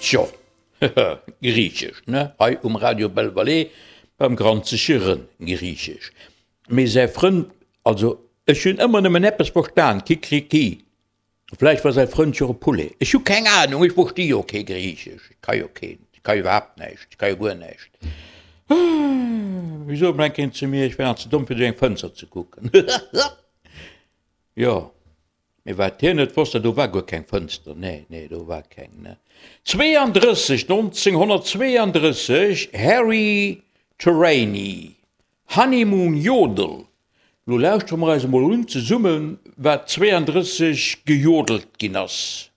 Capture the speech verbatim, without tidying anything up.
Tjo, Griichesch, ne? Hei um Radio Belle Vallée beim granzege Rënn, Griichesch. Mee säi Frënd, also ech hunn ëmmer nëmmen eppes verstan, Kikriki. Vläicht war säi Frënd jo e Poulet. Ech hu keng Anung, ech versti jo kee Griichesch, ech ka jo keen, ech ka jo iwwerhaapt näischt, ech ka jo guer näischt. Wéi sot emol eng Kéier een zu mir, ech wär nach ze domm fir duerch eng Fënster ze kucken. Jo, mee wat hien net wosst, do war guer keng Fënster, nee, nee, do war keng, ne. Zweeandrësseg, nonzénghonnertzweeandrësseg, Harry Terrani, Honeymoon Yodel. Lo lauschtere mer eis emol un zesummen, wat zweeandrësseg gejodelt ginn ass.